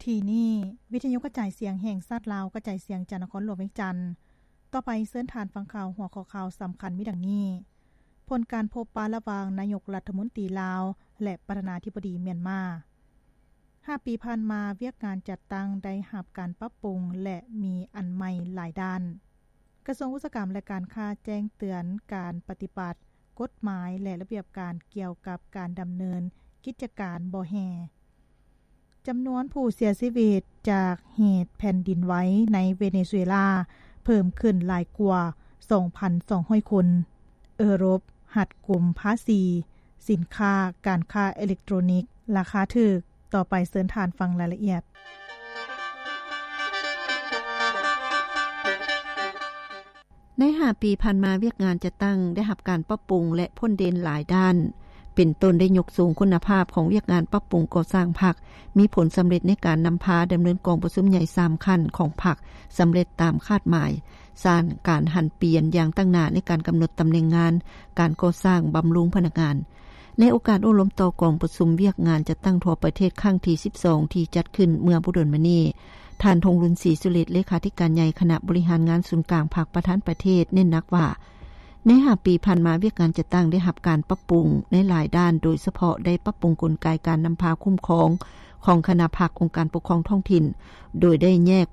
ທີ່ນີ້ ວິທະຍຸກະຈາຍສຽງແຫ່ງຊາດລາວ ກະຈາຍສຽງຈາກນະຄອນຫຼວງວຽງຈັນ. ຕໍ່ໄປເຊີນທ່ານຟັງຂ່າວ ຫົວຂໍ້ຂ່າວສຳຄັນມີດັ່ງນີ້: ຜົນການພົບປະລະຫວ່າງນາຍົກລັດຖະມົນຕີລາວ ແລະ ປະທານາທິບໍດີມຽນມາ. ຫ້າປີຜ່ານມາ ວຽກງານຈັດຕັ້ງໄດ້ຮັບການປັບປຸງ ແລະ ມີອັນໃໝ່ຫຼາຍດ້ານ. ກະຊວງອຸດສາຫະກຳ ແລະ ການຄ້າແຈ້ງເຕືອນການປະຕິບັດກົດໝາຍ ແລະ ລະບຽບການກ່ຽວກັບການດຳເນີນກິດຈະການບໍ່ແຮ່. ຈຳນວນຜູ້ເສຍຊີວິດຈາກເຫດແຜ່ນດິນໄຫວໃນເວເນຊູເອລາ ເພີ່ມຂຶ້ນຫຼາຍກວ່າ ສອງພັນສອງຮ້ອຍຄົນ. ເອີຣົບຮັດກຸມພາສີສິນຄ້າການຄ້າເອເລັກໂຕຣນິກລາຄາຖືກ. ຕໍ່ໄປເຊີນທ່ານຟັງລາຍລະອຽດ. ໃນຫ້າປີຜ່ານມາ ວຽກງານຈັດຕັ້ງໄດ້ຮັບການປັບປຸງ ແລະ ພົ້ນເດັ່ນຫຼາຍດ້ານ ເປັນຕົ້ນໄດ້ຍົກສູງຄຸນນະພາບຂອງວຽກງານປັບປຸງກໍ່ສ້າງພັກ, ມີຜົນສຳເລັດໃນການນຳພາດຳເນີນກອງປະຊຸມໃຫຍ່ສາມຂັ້ນຂອງພັກສຳເລັດຕາມຄາດໝາຍ, ສ້າງການຫັນປ່ຽນຢ່າງຕັ້ງໜ້າໃນການກຳນົດຕຳແໜ່ງງານ, ການກໍ່ສ້າງ, ບຳລຸງພະນັກງານ. ໃນໂອກາດໂອ້ລົມຕໍ່ກອງປະຊຸມວຽກງານຈັດຕັ້ງທົ່ວປະເທດຄັ້ງທີສິບສອງ ທີ່ຈັດຂຶ້ນເມື່ອບໍ່ດົນມານີ້, ທ່ານ ທອງລຸນ ສີສຸລິດ ເລຂາທິການໃຫຍ່ຄະນະບໍລິຫານງານສູນກາງພັກ ປະທານປະເທດ ເນັ້ນໜັກວ່າ ໃນຫ້າປີຜ່ານມາ ວຽກງານຈັດຕັ້ງໄດ້ຮັບການປັບປຸງໃນຫຼາຍດ້ານ, ໂດຍສະເພາະໄດ້ປັບປຸງກົນໄກການນຳພາຄຸ້ມຄອງຂອງຄະນະພັກ, ອົງການປົກຄອງທ້ອງຖິ່ນ, ໂດຍໄດ້ແຍກ